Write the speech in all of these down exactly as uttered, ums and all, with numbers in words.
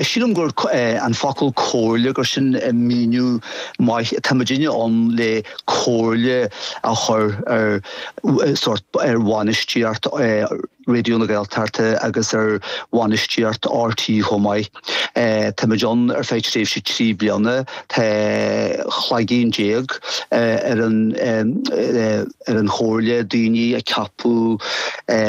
Sílim gur an focal comhairle gur sin míniú maith tá muidinne ann le comhairle a chur ar sort ar bhainistíocht Raidió na Gaeltachta agus ar bhainistíocht RTÉ chomh maith. Tá muid ann ar feadh tréimhse trí bliana tá cloigeann déag ar an ar an chomhairle daoine a ceapadh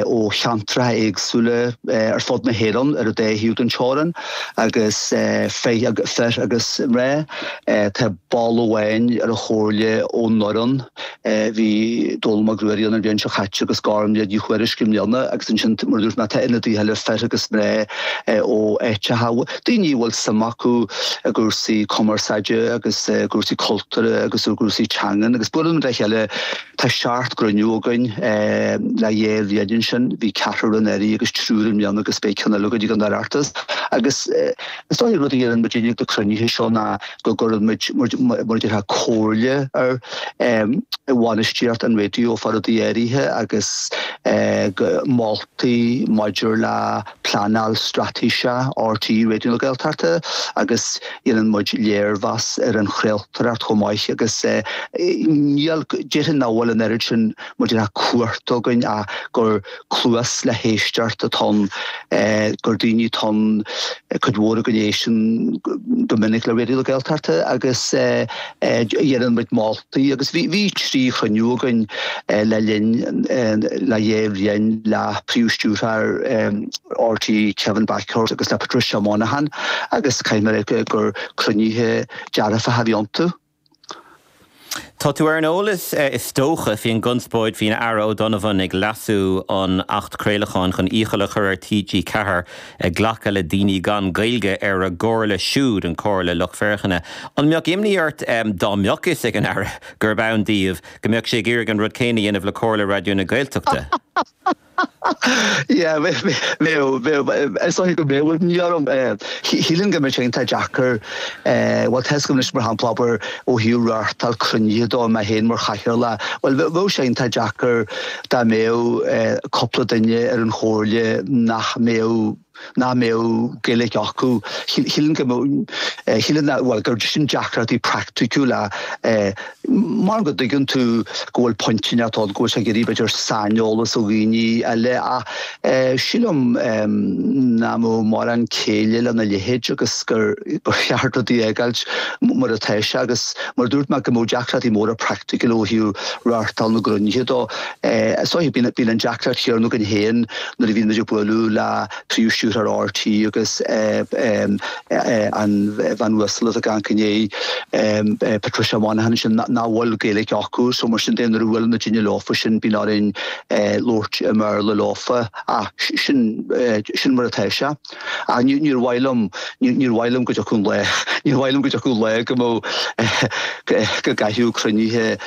ó cheantracha éagsúla ar fud na hÉireann ar an dá thaobh den teorainn agus fir agus mná. Tá ball amháin ar an chomhairle ón nDoireann, bhí Dónall Mac Ruairí an bhliain seo caite agus Gormfhlaith Ní Thuairisg i mbliana agus ansin mar a dúirt mé tá ionadaithe eile fir agus mná ó áiteacha, daoine a bhfuil suim acu i gcúrsaí cumarsáide agus i gcúrsaí cultúrtha agus i gcúrsaí teangan agus buaileann muid le chéile tá seacht gcruinniú againn le dhá bhliain ansin, bhí ceathrar anuraidh agus triúr i mbliana agus beidh ceann eile againn ag an Oireachtas agus is dóigh rud a dhéanann muid ag na cruinnithe seo ná go gcuireann muid mar a déarfá comhairle ar bhainistíocht an raidió fá rudaí áirithe agus moltaí maidir le pleanáil straitéise RTÉ Raidió na Gaeltachta agus dhéanann muid léirmheas ar an chraoltóireacht chomh maith agus níl déarfainn nach bhfuil an oiread sin mar a déarfá cumhacht againn ach gur cluas le héisteacht atá ann gur daoine atá ann cuid mhór againn a éisteann go minic le Raidió na Gaeltachta agus dhéanann muid moltaí agus bhí bhí trí chruinniú againn le linn le dhá bhliain le príomhstiúrthóir RTÉ Kevin Bakhurst agus le Patricia Monaghan agus caithfidh mé a rá gur cruinnithe dearfacha a bhí iontu. Tá tú ar an eolas is dócha faoin gconspóid faoin Aire O'Donovan ag leasú an Acht Craolacháin chun iachall a chur ar TG Ceathair ag glacadh le daoine gan Gaeilge ar a gcomhairle siúd an Comhairle Lucht Féachana. An mbeadh imní ort dá mbeadh fhios ag an Aire gurb ann daoibh go mbeadh sé ag iarraidh an rud céanna a dhéanamh le Comhairle Raidió na Gaeltachta? Yeah, bheadh bheadh is dóigh go mbeadh imní orm. Shílfinn go mbeadh sé iontach deacair bhuel tá fhios agam anois mar shampla abair ó thaobh reáchtáil cruinnithe dó mé féin mar chathaoirleach, bhuel bheadh sé iontach deacair dá mbeadh cúpla duine ar an chomhairle nach mbeadh nach mbeadh Gaeilge acu. Shílfinn go mbeadh shílfinn bhuel gur sin deacrachtaí praiticiúla mar go dtuigeann tú go bhfuil pointe inteacht ann go bhfuil sé ag iarraidh b'fhéidir saineolas ó dhaoine eile ach sílim nach mbeadh mórán céille lena leithéid agus gur gur cheart rudaí a fhágáilt mar atá sé agus mar a dúirt mé go mbeadh deacrachtaí móra praiticiúla ó thaobh reáchtáil na gcruinnithe dó. Is dóigh bíonn bíonn an deacracht chéanna againn féin nuair a bhíonn muid ag bualadh le príomhstiúrthóir RTÉ agus an bhean uasal atá ag caint inné Patricia Monaghan sin nach bhfuil Gaeilge acu so mar sin de nuair a bhuaileann na daoine leofa sin bíonn orainn labhairt i mBéarla leofa ach sin sin mar atá sé. Ach níor mhaith liom níor mhaith liom go dtiocfadh an lá níor mhaith liom go dtiocfadh an lá go mbeadh go gcaithfeadh cruinnithe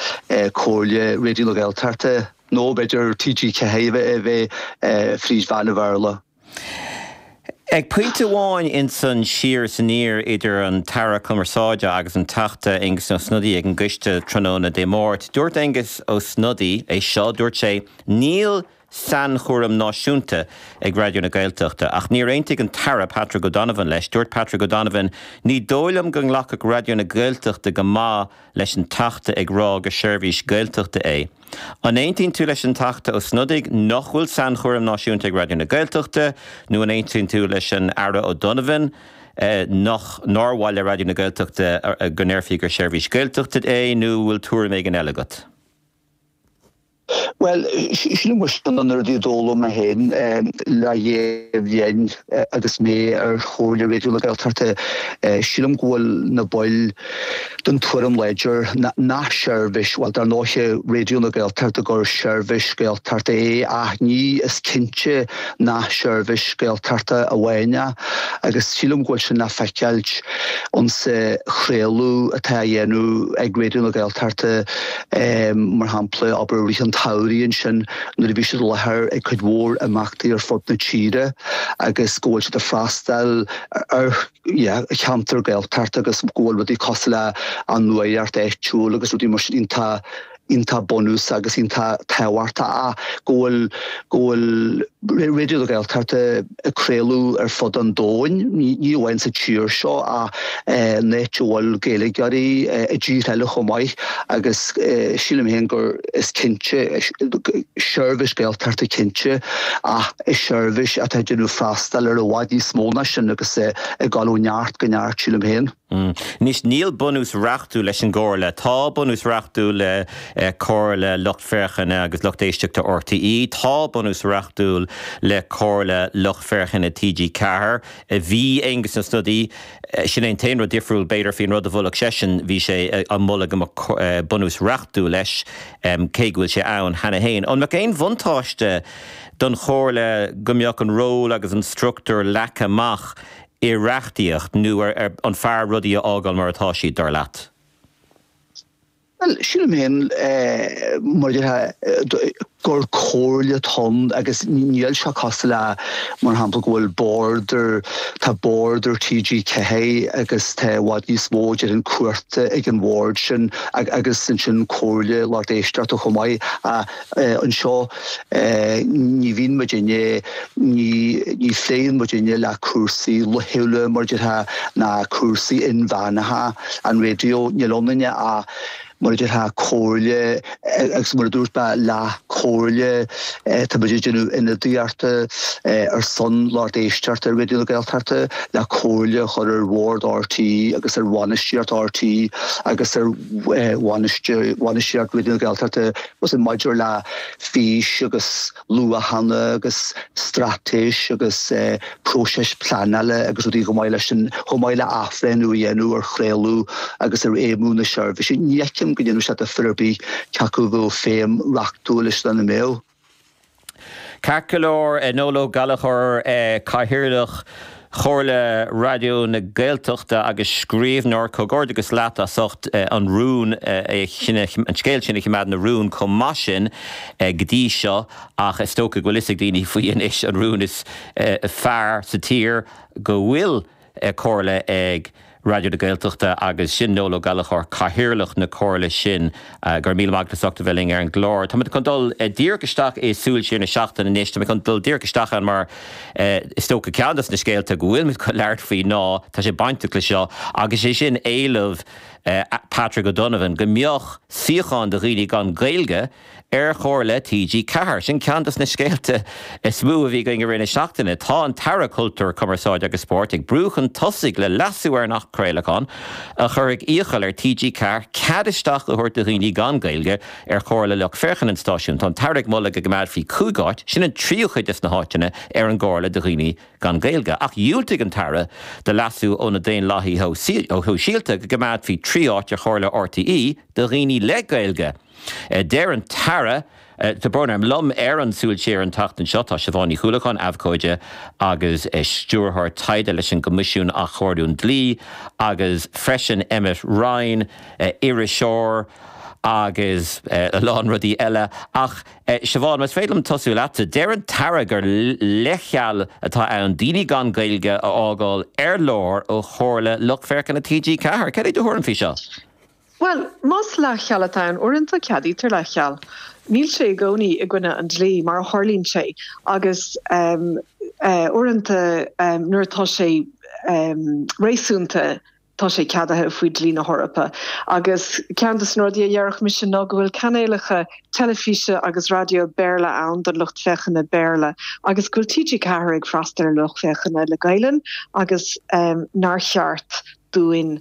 Comhairle Raidió na Gaeltachta nó b'fhéidir TG Ceathair a bheith fríd mheán an Bhéarla. Ag pointe amháin insan siar is aniar idir an tAire Cumarsáide agus an Teachta Aengus Ó Snodaigh ag an gcoiste tráthnóna Dé Máirt, dúirt Aengus Ó Snodaigh é seo, dúirt sé, Níl sainchúram náisiúnta ag Raidió na Gaeltachta. Ach níor aontaigh an tAire Patrick O'Donovan leis. Dúirt Patrick O'Donovan, Ní dóigh liom go nglacfadh Raidió na Gaeltachta go maith leis an Teachta ag rá gur seirbhís Gaeltachta é. An aontaíonn tú leis an Teachta Ó Snodaigh nach bhfuil sainchúram náisiúnta ag Raidió na Gaeltachta nó an aontaíonn tú leis an Aire O'Donovan nach nár mhaith le Raidió na Gaeltachta go ndéarfaí gur seirbhís Gaeltachta é nó bhfuil tuairim éigin eile agat? Bhuel, sílim go sin an rud a d'fhoghlaim mé féin le dhá bhliain agus mé ar Chomhairle Raidió na Gaeltachta. Sílim go bhfuil na baill den tuairim láidir nach seirbhís, bhuel, dar ndóighe Raidió na Gaeltachta gur seirbhís Gaeltachta é ach ní is cinnte nach seirbhís Gaeltachta amháin é agus sílim go bhfuil sin le feiceáilt insa chraoladh atá á dhéanamh ag Raidió na Gaeltachta mar shampla, abair, i rith an tsamhraidh ansin nuair a bhí siad i láthair ag cuid mhór imeachtaí ar fud na tíre agus go bhfuil siad ag freastal ar yeah, cheantar Gaeltachta agus go bhfuil rudaí cosúil le an nuacht áitiúil agus rudaí mar sin iontach iontach bunúsach agus iontach tábhachtach ach go bhfuil go bhfuil Raidió na Gaeltachta ag craoladh ar fud an domhain, ní amháin sa tír seo ach in áit a bhfuil Gaeilgeoirí i dtíortha eile chomh maith agus sílim féin gur is cinnte seirbhís Gaeltachta cinnte ach is seirbhís atá ag déanamh freastal ar i bhfad níos mó ná sin agus ag dul ó neart go neart sílim féin. Anois níl bunús reachtúil leis an gComhairle. Tá bunús reachtúil le Comhairle Lucht Féachana agus Lucht Éisteachta RTÉ. Tá bunús reachtúil le Comhairle Lucht Féachana TG Ceathair. Bhí Aengus Ó Snodaigh, sin é an t-aon rud difriúil b'fhéidir faoin rud a mholfadh seisean, bhí sé á mholadh go mbeadh bunús reachtúil leis, cé go bhfuil sé ann cheana féin. An mbeadh aon bhuntáiste don Chomhairle go mbeadh an ról agus an struchtúr leagtha amach i reachtaíocht nó an fearr rudaí a fhágáil mar atá siad, dar leat? Bhuel, sílim féin, mar a déarfá, gur comhairle atá ann agus níl sé cosúil le, mar shampla, go bhfuil bord ar, tá bord ar TG Ceathair agus tá i bhfad níos mó déarfainn cumhachta ag an bhord sin agus ansin comhairle lucht éisteachta chomh maith. Anseo ní bhíonn muidinne, ní ní phléann muidinne le cúrsaí laethúla mar a déarfá ná cúrsaí inmheánacha an raidió, níl ionainne ach mar a déarfá comhairle agus mar a dúirt mé leathchomhairle, tá muid ag déanamh ionadaíochta ar son lucht éisteachta Raidió na Gaeltachta le comhairle a chur ar bhord RTÉ agus ar bhainistíocht RTÉ agus ar bhainistíocht Raidió na Gaeltachta maidir le fís agus luachanna agus straitéis agus próiseas pleanála agus rudaí chomh maith leis sin, chomh maith le athbhreithniú a dhéanamh ar chraoladh agus ar fheidhmiú na seirbhíse. Ní fheicim go ndéanfadh sé difear ar bith cé acu a bheadh feidhm reachtúil leis nó nach mbeadh. Ceart go leor, Noel Ó Gallchóir, Cathaoirleach Chomhairle Raidió na Gaeltachta agus scríbhneoir, comhghairdeachas leat as ucht an rún sin, an scéal sin a choimeád ina rún chomh maith sin go dtí seo ach is dócha go bhfuil fhios ag daoine faoi anois an rún is fearr sa tír go bhfuil comhairle ag Raidió na Gaeltachta agus sin Noel Ó Gallchóir, Cathaoirleach na Comhairle sin. Go raibh míle maith agat as ucht a bheith linn ar an gclár. Tá muid chun dul díreach isteach i Súil Siar na Seachtaine anois. Tá mé chun dul díreach isteach ann mar is dócha ceann de na scéalta go bhfuil muid chun labhairt faoi ná tá sé bainteach le seo agus sé sin éileamh Patrick O'Donovan go mbeadh suíochán do dhaoine gan Gaeilge ar Chomhairle TG Ceathair. Sin ceann de na scéalta is mó a bhí againn i rith na seachtaine. Tá an tAire Cultúir, Cumarsáide agus Spóirt ag brú chun tosaigh le leasú ar an Acht Craolacháin a chuirfidh iachall ar TG Ceathair cead isteach a thabhairt do dhaoine gan Gaeilge ar Chomhairle Lucht Féachana an stáisiúin. Tá an tAire ag moladh go gcoimeádfaí cúig áit, sin an tríú cuid des na háiteanna, ar an gComhairle do dhaoine gan Gaeilge. Ach dhiúltaigh an tAire do leasú ó na Daonlathaithe Shóisialta go gcoimeádfaí trí áit ar Chomhairle RTÉ do dhaoine le Gaeilge. Deir an tAire, Tá brón orm, liom ar an Súil Siar an tseachtain seo tá Siobhán Ní Chuallacháin, abhcóide agus stiúrthóir taighde leis an gCoimisiún Athchóiriú an Dlí agus freisin Emmet Ryan, iriseoir agus a lán rudaí eile. Ach Siobhán, más féidir liom tosú leatsa, deir an tAire gur leithcheal atá ann daoine gan Gaeilge a fhágáil ar lár ó Chomhairle Lucht Féachana TG Ceathair. Cad é do thuairim faoi seo? Bhuel, más leithcheal atá ann, uaireanta ceadaítear leithcheal. Níl sé i gcónaí i gcoinne an dlí, mar a tharlaíonn sé, agus uaireanta nuair atá sé réasúnta, tá sé ceadaithe faoi dhlí na hEorpa. Agus ceann de na rudaí a déarfadh mise ná go bhfuil cainéalacha teilifíse agus raidió Béarla ann don lucht féachana Béarla agus go bhfuil TG Ceathair ag freastal ar lucht féachana le Gaelainn agus nár cheart dúinn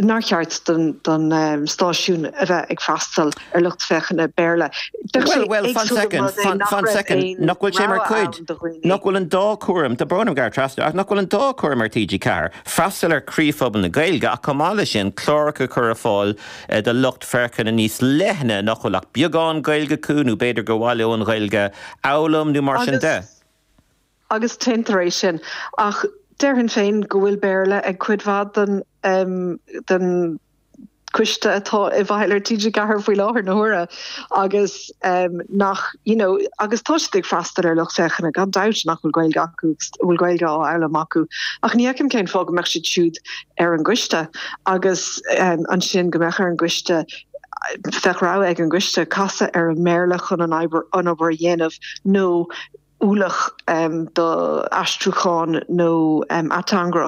nár cheart don stáisiún a bheith ag freastal ar lucht féachana Béarla. Bhuel, bhuel, fan soicind, fan, fan soicind, nach bhfuil sé mar chuid, nach bhfuil an dá chúram, tá brón orm gearradh trasna, ach nach bhfuil an dá chúram ar TG Ceathair, freastal ar chroíphobal na Gaeilge ach chomh maith leis sin cláracha a chur ar fáil do lucht féachana níos leithne nach bhfuil ach beagán Gaeilge acu nó b'fhéidir gur mhaith leo an Ghaeilge a fhoghlaim nó mar sin de. Agus déantar é sin. Ach déarfainn féin go bhfuil Béarla ag cuid mhaith den den coiste atá i bhfeighil ar TG Ceathair faoi láthair na huaire agus nach you know agus tá siad ag freastal ar lucht féachana gan dabht nach bhfuil Gaeilge acu agus a bhfuil Gaeilge á fhoghlaim acu ach ní fheicim cén fáth go mbeadh siad siúd ar an gcoiste agus ansin go mbeadh ar an gcoiste Bheadh rogha ag an gcoiste casadh ar an mBéarla chun an obair an obair a dhéanamh nó ualach do aistriúchán nó ateangaireacht.